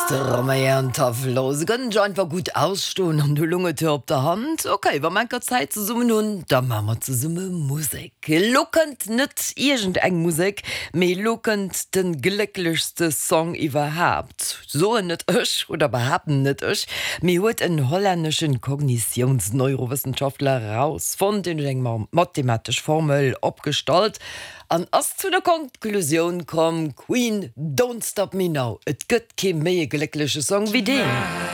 De Romain an d'Tavlo, se kënnen sech einfach gutt ausstoen an du lung et jo op der Hand, ok, wa mer enker Zäit zesummen hunn, da maache mer zesumme Musek. Elo kënnt net iergend eng Musek, mee elo kënnt de glécklechste Song iwwerhaapt, soen net ech oder behaapten net ech, mee huet en hollänneschen Kognitiounsneurowëssenschaftler erausfonnt, deen huet eng mathematesch Formel opgestallt An ass zu der Konklusioun komm, Queen, Don't Stop Me Now. Et gëtt kee méi e gléckleche Song wéi deen.